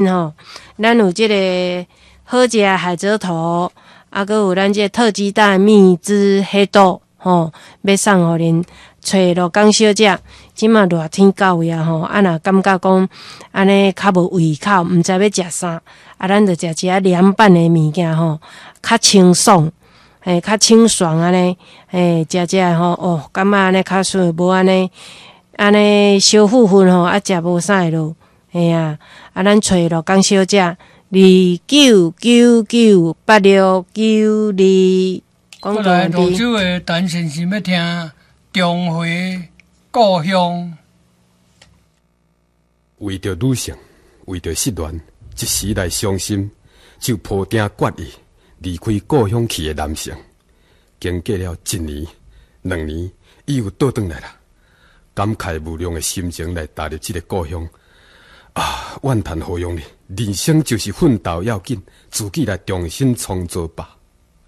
吼，咱有這个好食海蜇頭，啊，閣有咱這个特級大蜜汁黑豆，吼，欲送予恁。揣陸江小姐，這馬熱天到位啊吼，啊若感覺講按呢較無胃口，毋知欲食啥，啊，咱就食一下涼拌的物件吼，較清爽，嘿，較清爽按呢，嘿，食食吼，哦，感覺按呢較順，無按呢按呢燒糊糊吼，啊，食無啥會落，嘿啊，啊，咱揣陸江小姐，29998692。過來蘆洲的陳先生欲聽。重回故鄉。為著女性，為著失戀，一時來傷心，就抱定決意離開故鄉去的男性，經過了一年、兩年，伊又倒轉來啦，感慨無量的心情來踏入這个故鄉。啊，怨嘆何用呢？人生就是奮鬥要緊，自己來重新創造吧。